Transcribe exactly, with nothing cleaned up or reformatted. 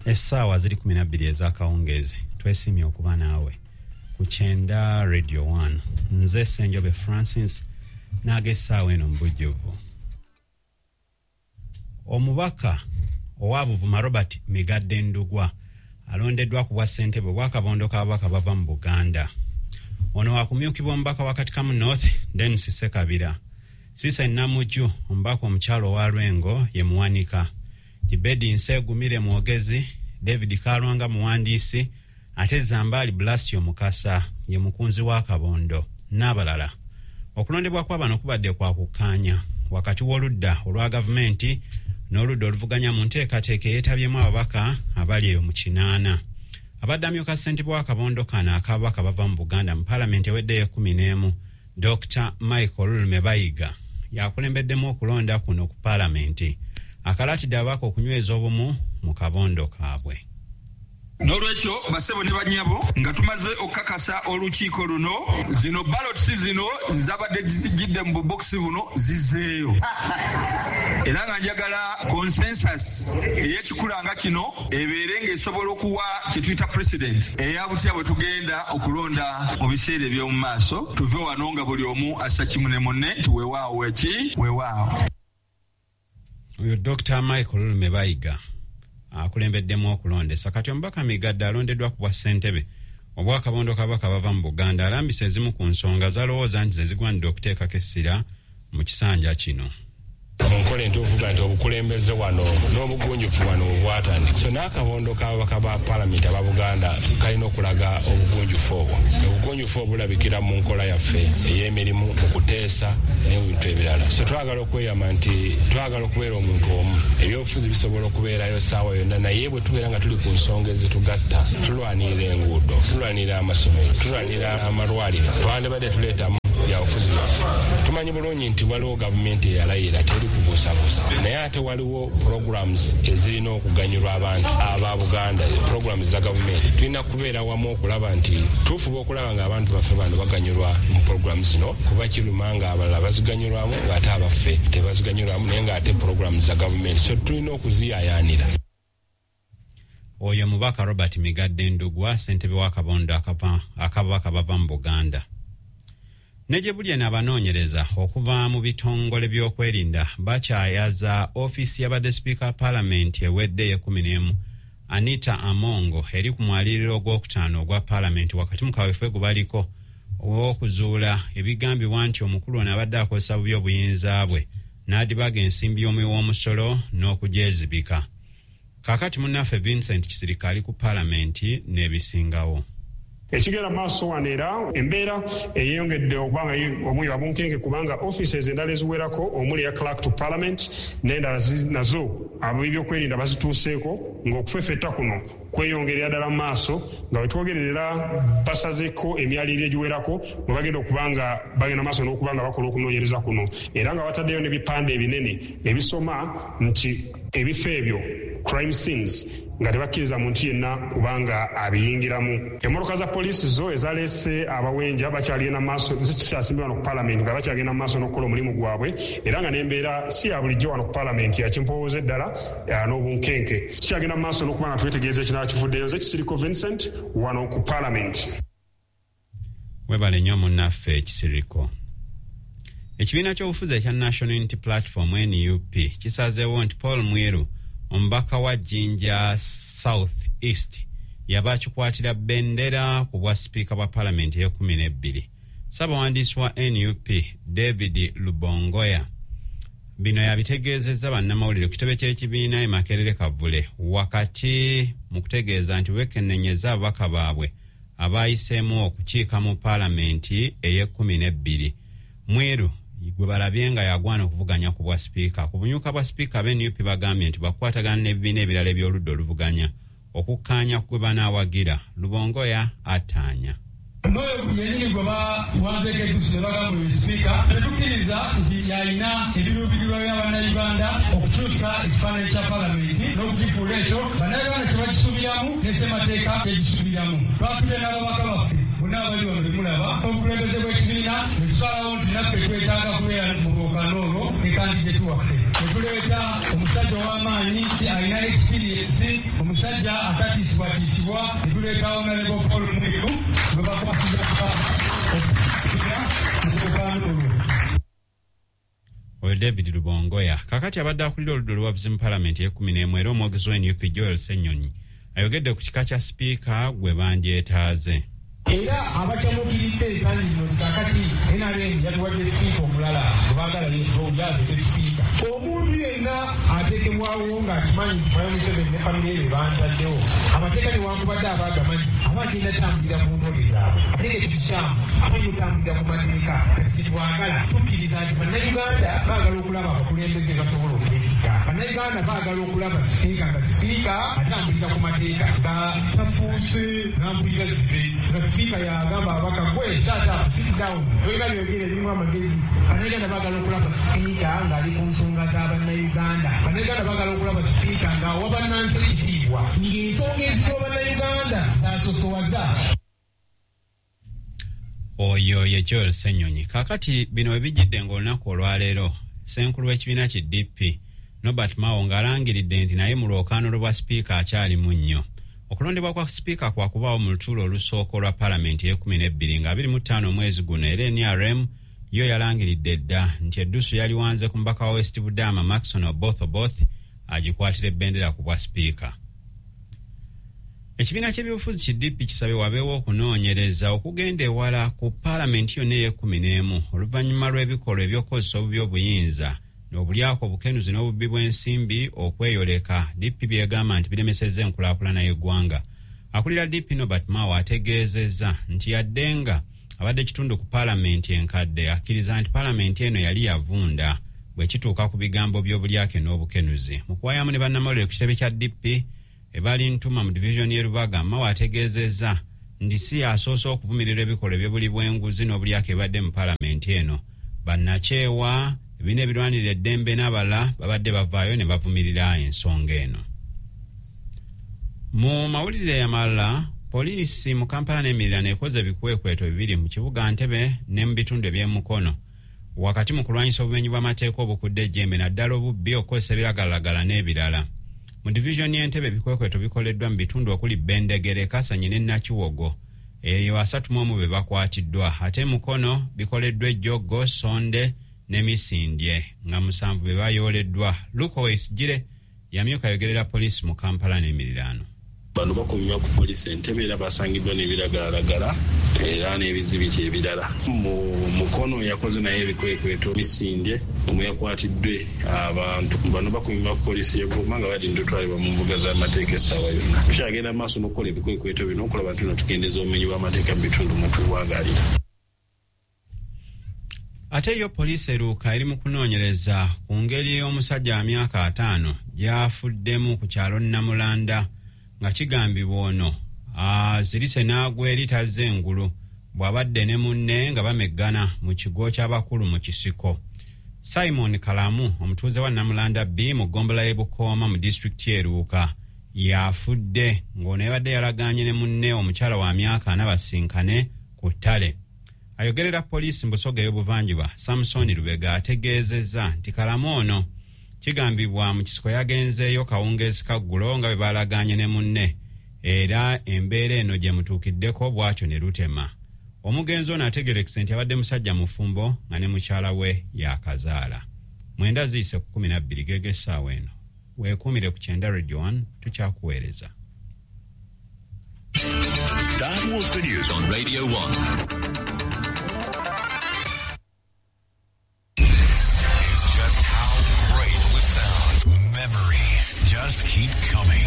Essaawa ziri kumi na bbiri ez'akawungeezi. Twesiimye okuba naawe ku Kyenda Radio one. Nze Ssenjobe Francis n'ag'essaawa eno mu bujjuvu. Omubaka owa Buvuma Robert Migadde Ndugwa alondeddwa ku bwa ssentebe obw'akabondo k'ababaka bava mu Buganda. Ono wakumyukibwa omubaka wa Katikamu North Denis Ssekabira. Sisa Namujju omubaka omukyalo owa Lwengo ye muwanika. Kibedi Nsegumire mwogezi, David Kalwanga muwandiisi, ate Zambaali Blasio Mukasa ye mukunzi w'akabondo n'abalala. Okulondebwa kw'abano kubadde kwa kukkaanya wakati w'oludda olwa gavumenti n'oludda oluvuganya mu nteekateeka eyeetabyemu ababaka abali eyo mu kinaana. Abadde amyuka ssentebe w'akabondo kano ak'ababaka bava mu Buganda mu paalamenti eweddeyo ekkumi n'emu, Dokita Michael Lulume Bayiga yakulembeddemu okulonda kuno ku paalamenti. Akalaatidde ababaka okunyweza obumu mu kabondo kaabwe. N'olwekyo basebo ne bannyabo, nga tumaze okukakasa olukiiko luno, zino ballots zino zabadde zijjidde mu bubokisi buno zizzeeyo. Era nga njagala consensus ey'ekikula nga kino ebeere ng'esobola okuwa kye tuyita president eya butya bwe tugenda okulonda mu biseera eby'omu maaso, tuve wano nga buli omu assa kimu ne munne nti weewaawo eki weewaawo. Oyo Dokita Michael Lulume Bayiga akulembeddemu okulondesa. Kati omubaka Migadde alondeddwa ku bwa ssentebe obw'akabondo k'ababaka bava mu Buganda alambisa ezimu ku nsonga z'alowooza nti ze zigwanidde okuteekako essira mu kisanja kino. Mu nkola entuufu nti obukulembeze wano n'obugunjufu wano bwatandika. So n'akabondo k'ababaka ba paalamenti aba Buganda kalina okulaga obugunjufu obwo. Obugunjufu obulabikira mu nkola yaffe ey'emirimu, mu kuteesa n'ebintu ebirala. So twagala okweyama nti twagala okubeera omuntu omu. Ebyobufuzi bisobola okubeerayo ssaawa yonna, naye bwe tubeera nga tuli ku nsonga ezitugatta, tulwanirira enguudo, tulwanirira amasomero, tulwanirira amalwaliro, twandibadde tuleetamu byabufuzi byaffe. Tumanyi bulungi nti waliwo gavumenti eyalayira teri kubuusabuusa, naye ate waliwo programs ezirina okuganyulwa abantu aba Buganda, programs za gavumenti. Tulina kubeera wamu okulaba nti tufuba okulaba ng'abantu baffe bano baganyulwa mu programs zino, kuba kiruma ng'abalala baziganyulwamu ng'ate abaffe tebaziganyulwamu, naye ng'ate programs za gavumenti, so tulina okuziyaayaanira. Oyo mubaka Robert Migadde Ndugwa, ssentebe w'akabondo ak'ababaka bava mu Buganda. Ne gye buli eno abanoonyereza okuva mu bitongole by'okwerinda bakyayaza ofiisi y'abadde sipiika wa paalamenti ewedde ey'ekkumi n'emu Anita Amongo eri ku mwaliiro ogwokutaano ogwa paalamenti wakati mu kaweefube gwe baliko ow'okuzuula ebigambibwa nti omukulu ono abadde akozesa bubi obuyinza bwe n'adibaga ensimbi y'omuwi w'omusolo n'okugyezibika. Kaakati munnaffe Vincent Kisirika ali ku paalamenti n'ebisingawo. Ekigenda maaso wano era embeera eyeyongedde okuba nga omuli wabunkenke, kubanga offices endala eziwerako omuli eya clerk to parliament n'endala nazo ab'ebyokwerinda bazituuseeko, ng'okufefetta kuno kweyongerera ddala mu maaso nga bwe twogerera basazeeko emyaliriro egiwerako mwe bagenda okuba nga bagenda maaso n'okuba nga bakola okunoonyereza kuno, era nga bataddeyo n'ebipande ebinene ebisoma nti ebifo ebyo crime scenes, nga tebakkiriza muntu yenna kubanga abiyingiramu. Emmotoka za poliisi zo ezaleese abawenja bakyagenda maaso, zikyasimbye wano ku paalamenti nga bakyagenda maaso n'okukola omulimu gwabwe, era nga n'embeera si ya bulijjo wano ku paalamenti yakimpowooza eddala n'obunkenke. Kikyagenda maaso n'okuba nga twetegereza ekinaaba kivuddeyo. Nze Kisiriko Vincent wano ku paalamenti. Webale nnyo munnaffe Kisiriko. Ekibiina ky'obufuzi ekya National Unity Platform N U P kisazeewo nti Paul Mwiru omubaka wa Jinja South East yaba akikwatira bendera ku bwa sipiika bwa paalamenti ey'ekkumi n'ebbiri. Ssabawandiisi wa N U P David Lubongoya bino yabitegeezezza bannamawulire ku kitebe ky'ekibiina e Makerere Kavule wakati mu kutegeeza nti beekennenyeza ababaka baabwe abayiseemu okukiika mu paalamenti ey'ekkumi n'ebbiri. Mwiru gwe balabye nga yagwana okuvuganya ku bwa sipiika. Ku bunyuka bwa sipiika aba N U P bagambye nti bakwatagana n'ebibiina ebirala eby'oludda oluvuganya okukkaanya ku gwe banaawagira. Lubongoya ataanya. N'oyo yennyini gwe bawanzeeko eddusu ne bagamba oyo sipiika, tetukkiriza nti yalina ebiruubirirwa bya Bannayuganda okukyusa ekifaananyi kya paalamenti n'okukifuula ekyo Bannayuganda kye bakisuubiramu ne ssemateeka kyegisuubiramu. Twatudde n'ababaka baffe bonna abali wano be mulaba, obukulembeze bw'ekibiina ne tusalawo nti naffe twetaaga kubeera mu lwokaano olwo ne kandideti waffe. Tuleeta omusajja ow'amaanyi alina experience, omusajja atatiisibwatiisibwa, ne tuleeta Honorable Paul Mwiru gwe bakwasiza okukaano olwo. Oyo David Lubongoya. Kakati abadde akulira oludda oluwabuzi mu palamenti ey'ekkumi n'emu era omwogezi wa N U P Joel Ssenyonyi ayogedde ku kika kya sipiika gwe bandyetaaze. Era abakyamukiridde ensangi zino nti kakati N R M yatuwadde sipiika omulala gwe baagala yabeere sipiika. Omuntu yenna ateekebwawo ng'akimanyi nti Mwami Museveni ne famire ye be bantaddewo, amateeka newankubadde aba agamanyi aba agenda tambulira ku ntole zaabwe, ate nga ekyo kikyamu. Amanyi otambulira ku mateeka. Kati kyetwagala, tukkiriza nti Bannayuganda baagala okulaba abakulembeze basobola okwesiga. Bannayuganda baagala okulaba sipiika nga sipiika atambulira ku mateeka, nga tafuuse nambulira zibe, nga sipiika yagamba ababaka, "Gwe shut up, sit down, tolina byogera ebimu amagezi." Bannayuganda baagala okulaba sipiika ng'ali ku nsonga z'abannayuganda. Bannayuganda baagala okulaba sipiika ng'awa bannansi ekitiibwa, ng'ensonga eziwa bannayuganda zasosowaza. Oyo ye Joel Ssenyonyi. Kakati bino we bijjidde ng'olunaku olwaleero ssenkulu w'ekibiina ki D P Norbert Mao ng'alangiridde nti naye mu lwokaano lwa sipiika akyalimu nnyo. Okulondebwa kwa sipiika kwakubaawo mu lutuulo olusooka olwa palamenti ey'ekumi n'ebbiri nga abiri mu ttaano omwezi guno, era N R M yo yalangiridde dda nti eddusu yaliwanze ku mubaka wa West Budama Maxon Oboth Oboth agikwatira ebbendera ku bwa sipiika. Ekibiina ky'ebyobufuzi ki D P kisabye wabeewo okunoonyereza okugenda ewala ku paalamenti yonna ey'ekkumi n'emu oluvannyuma lw'ebikolwa eby'okukozesa obubi obuyinza, obulyako, obukenuzi n'obubbi bw'ensimbi okweyoleka, D P byegamba nti biremesezza enkulaakulana y'eggwanga. Akulira D P Norbert Mao ategeezezza nti yadde nga abadde kitundu ku paalamenti enkadde, akkiriza nti paalamenti eno yali yavunda bwe kituuka ku bigambo by'obulyake n'obukenuzi. Mu kuwayamu ne bannamawulire ku kitebe kya D P ebali Ntuma mu divizoni y'e Lubaga, Mao ategeezezza nti si yasoose okuvumirira ebikolwa ebyobuli bw'enguzi n'obulyake ebibadde mu paalamenti eno. Bannakyewa, ebibiina ebirwanirira eddembe n'abalala babadde bavaayo ne bavumirira ensonga eno. Mu mawulire amalala, poliisi mu Kampala n'emiriraano ekoze ebikwekweto bibiri mu kibuga Ntebe ne mu bitundu eby'emukono wakati mu kulwanyisa obumenyi bw'amateeka obukudde ejjembe, naddala obubbi, okukozesa ebiragalalagala n'ebirala. Mu divizoni y'Entebe, ebikwekweto bikoleddwa mu bitundu okuli Bendegere, Kasanyi ne Nakiwogo, eyo asatu mu omu be bakwatiddwa. Ate Mukono bikoleddwa Ejjoggo, Sonde ne Misindye, nga musanvu be bayooleddwa. Luko Wesigire yamyuka ayogerera poliisi mu Kampala n'emiriraano. Bano bakuumibwa ku poliisi Entebe era basangiddwa n'ebiragalalagala era n'ebizibiti ebirala. Mu Mukono yakoze naye ebikwekweto, Misindye omwe yakwatiddwe abantu. Bano bakuumibwa ku poliisi y'e Goma nga balinda otwalibwa mu mbuga z'amateeka essaawa yonna. Tukyagenda mu maaso n'okukola ebikwekweto bino okulaba nti no tukendeeza obumenyi bw'amateeka mu bitundu mwe tuwangaalira. Ate yo poliisi eruuka eri mu kunoonyereza ku ngeri omusajja wa myaka ataano gy'afuddemu ku kyalo Namulanda, nga kigambibwa ono azirise n'agwa eri tazze engulu bw'abadde ne munne nga bameggana mu kigo ky'abakulu mu kisiko. Simon Kalamu, omutuuze wa Namulanda B mu ggombolola y'e Bukooma mu disitulikiti y'e Luuka, yafudde ng'ono yabadde yalagaanye ne munne omukyala wa myaka ana basinkane ku ttale. Ayogerera poliisi mu Busoga ey'obuvanjuba Samusoni Lubega ategeezezza nti Kalamu ono kigambibwa mu kisiko yagenzeeyo kawungeezi kaggulo nga bwe balagaanye ne munne, era embeera eno gye mutuukiddeko bw'atyo ne lutema. Omugenzi ono ategerekese nti abadde musajja mufumbo nga ne mukyala we yakazaala. Mwenda ziyise ku kumi nabbiri gege essaawa eno. Weekuumire ku Kyenda Radio one, tukyakuweereza. That was the news on Radio one. This is just how great we sound. Memories just keep coming.